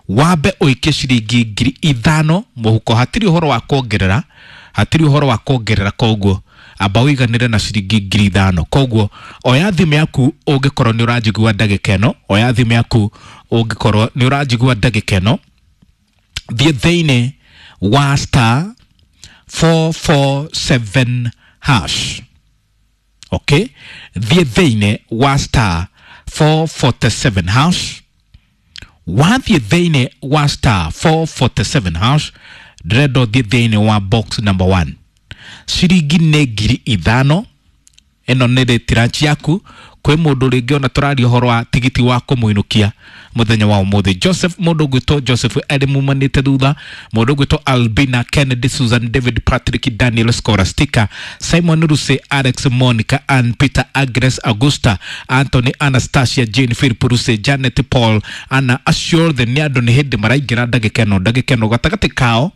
Wambe ũikie ciringi 5,000 mũhuko, hatirĩ ũhoro wa kuongerera, hatirĩ ũhoro wa kuongerera, koguo amba ũiganĩre na ciringi 5,000. Koguo oya thimũ yaku ũngĩkorwo nĩ ũranjigua ndagĩka ĩno, oya thimũ yaku ũngĩkorwo nĩ ũranjigua ndagĩka ĩno, thiĩ thĩinĩ wa star 447 hash. Okay, thiĩ thĩinĩ wa star 447 hash. Wathiĩ thĩinĩ wa star 447 hash, ndĩrenda ũthiĩ thĩinĩ wa box number 1. Ciringi nĩ 5,000. Ĩno nĩ rĩtiranci yaku kwĩ mũndũ rĩngĩ ona tũraria ũhoro wa tigiti wa kũmũinũkia mũthenya wa ũmũthĩ. Joseph, mũndũ ũgwĩtwo Joseph arĩ mumanĩte thutha, mũndũ ũgwĩtwo Albina, Kennedy, Susan, David, Patrick, Daniel, Scholastica, Simon Ruse, Alex, Monica, Ann, Peter, Agnes, Augusta, Anthony, Anastasia, Jane, Philip Ruse, Janet, Paul, Anna, acio othe nĩ andũ nĩ hĩndĩ maraingĩra ndagĩka ĩno. Ndagĩka ĩno gatagatĩ kao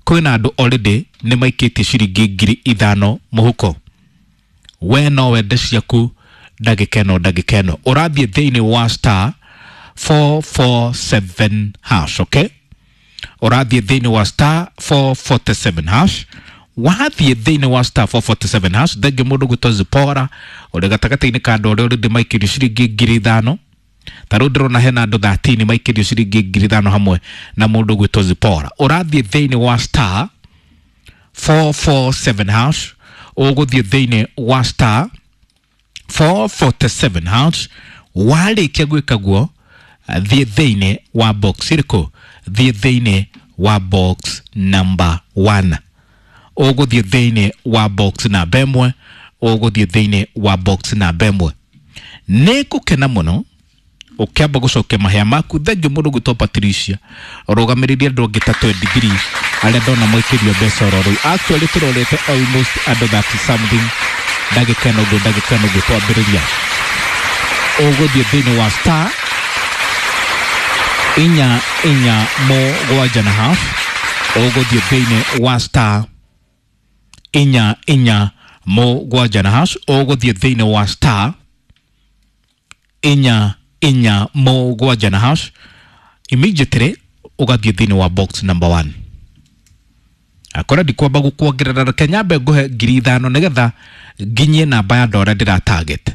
kwĩna andũ already nĩ maikĩtie ciringi 5,000 mũhuko. We no wende ciaku ndagĩka ĩno, ndagĩka ĩno ũrathiĩ thĩinĩ wa star 447 hash. Okay, ũrathiĩ thĩinĩ wa star 447 hash. Wathiĩ thĩinĩ wa star 447 hash, thengi mũndũ gwĩtwo Zipora ũrĩ gatagatĩ-inĩ ka andũ arĩa already maikĩrio ciringi 5,000. Ta rĩu ndĩrona hena andũ 13 maikĩrio ciringi 5,000 hamwe na mũndũ gwĩtwo Zipora. Ũrathiĩ thĩinĩ wa star 447 hash, ũgũthiĩ thĩinĩ wa star 447 hash. Warĩkia gwĩka guo, thiĩ thĩinĩ wa box ĩrĩkũ? Thiĩ thĩinĩ wa box number 1. Ũgũthiĩ thĩinĩ wa box namba 1, ũgũthiĩ thĩinĩ wa box namba 1. Nĩ ngũkena mũno ũkĩamba gũcokia mahĩa maku. Thengiũ mũndũ gwĩtwo Patricia ũrũgamĩrĩrie andũ angĩ ta 23 arĩa ndona maikĩrio mbeca oro rĩu. Actually tũrorete almost andũ 30 something ndagĩka ĩno ũguo, ndagĩka ĩno ũguo twambĩrĩria. Ũgũthiĩ thĩinĩ wa star 447 na half, ũgũthiĩ thĩinĩ wa star 447 na hash, ũgũthiĩ thĩinĩ wa star 447 na hash, immediately ũgathiĩ thĩinĩ wa box number 1. Akora ndikwamba gũkuongerera, reke nyambe ngũhe 5,000 nĩgetha nginyie namba ya andũ arĩa ndĩra target.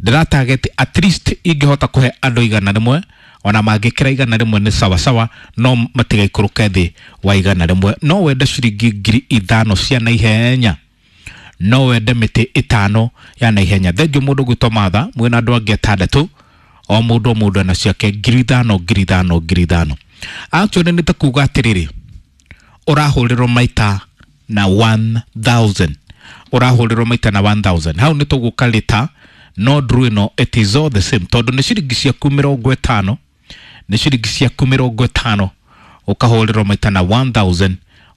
Ndĩra target at least ingĩhota kũhe andũ 100, ona mangĩkĩra 100 nĩ sawa sawa, no matigaikũrũke thĩ wa 100. No wende ciringi 5,000 cia naihenya, no wende mĩtĩ 5 ya naihenya. Thengiũ mũndũ gwĩtwo Martha mwĩna andũ angĩ 6, o mũndũ o mũndũ ena ciake 5,000 5,000 5,000. Actually nĩ ta kuga atĩrĩrĩ, ũrahũrĩrwo maita na 1000, ũrahũrĩrwo maita na 1000. Hau nĩ tũgũka lita, no ndru ĩno it is all the same, tondũ nĩ ciringi ciaku 50, nĩ ciringi ciaku 50 ũkahũrĩrwo maita na 1000,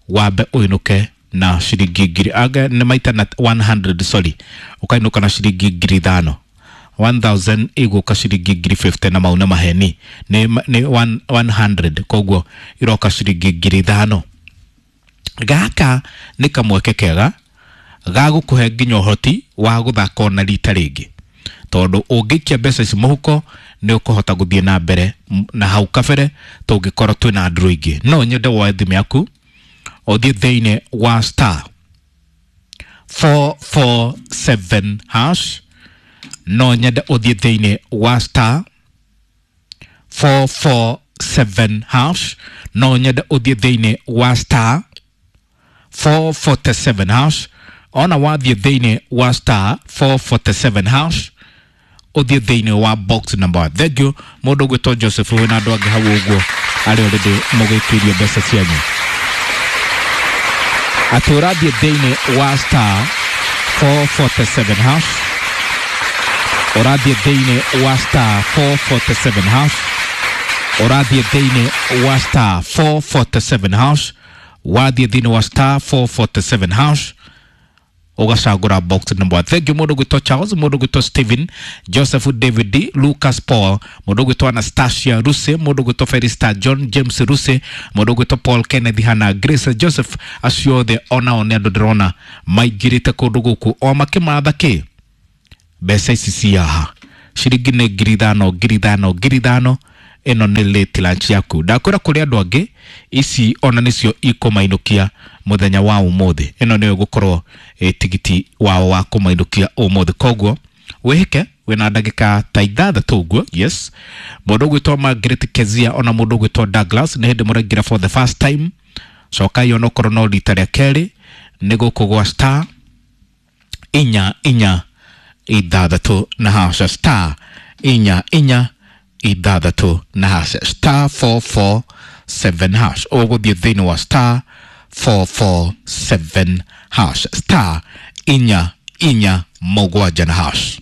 wambe ũinũke na ciringi ngiri anga nĩ maita na 100, sorry, ũkainũka na ciringi 5,000. 1000 igũka ciringi 50,000 na mau nĩ maheni, nĩ 100, koguo iroka ciringi 5,000. Gaka nĩ kamweke kega ga gũkũhe nginya ũhoti wa gũthaka ona rita rĩngĩ, tondũ ũngĩikia mbeca ici mũhuko nĩ ũkũhota gũthiĩ na mbere na hau kabere tũngĩkorwo twĩna andũ aingĩ. No nyende woe thimũ yaku ũthiĩ thĩinĩ wa star 447 hash, no nyende ũthiĩ thĩinĩ wa star 447 hash, no nyende ũthiĩ thĩinĩ wa star 447 hash. Ona wathiĩ thĩinĩ wa star 447 hash, ũthiĩ thĩinĩ wa box number 1. Thank you mũndũ ũgwĩtwo Joseph wĩna andũ angĩ hau ũguo arĩa already mũgĩkĩirio mbeca cianyu. Atĩ ũrathiĩ thĩinĩ wa star 447 hash, ũrathiĩ thĩinĩ wa star 447 hash, ũrathiĩ thĩinĩ wa star 447 hash, wathiĩ thĩinĩ wa star 447 hash ũgacagũra box number 1. Thank you mũndũ gwĩtwo Charles, mũndũ gwĩtwo Stephen, Joseph, David, Lucas, Paul, mũndũ gwĩtwo Anastasia Ruse, mũndũ gwĩtwo Felista, John James Ruse, mũndũ gwĩtwo Paul, Kenneth, Hannah, Grace, Joseph, acio othe onao nĩ andũ ndĩrona maingĩrĩte kũndũ gũkũ o makĩmatha kĩ mbeca ici ciaha. Ciringi nĩ 5,000 5,000 5,000. Ĩno nĩ late lunch yaku. Ndakwĩra kũrĩ andũ angĩ ici ona nĩcio ikũmainũkia mũthenya wa ũmũthĩ. Ĩno nĩyo ĩgũkorwo tigiti wao wa kũmainũkia ũmũthĩ. Koguo wĩhĩke wĩna ndagĩka ta 6 ũguo. Yes, mũndũ ũgwĩtwo Margaret Kezia ona mũndũ ũgwĩtwo Douglas, nĩ hĩndĩ mũraingĩra for the first time, cokai onokorwo no rita rĩa kerĩ. Nĩ gũkũ gwa star 4 4 6 na hash, star 4 4 6 na hash, star 447 hash. Ũgũthiĩ thĩinĩ wa star 447 hash, star 4 4 7 na hash.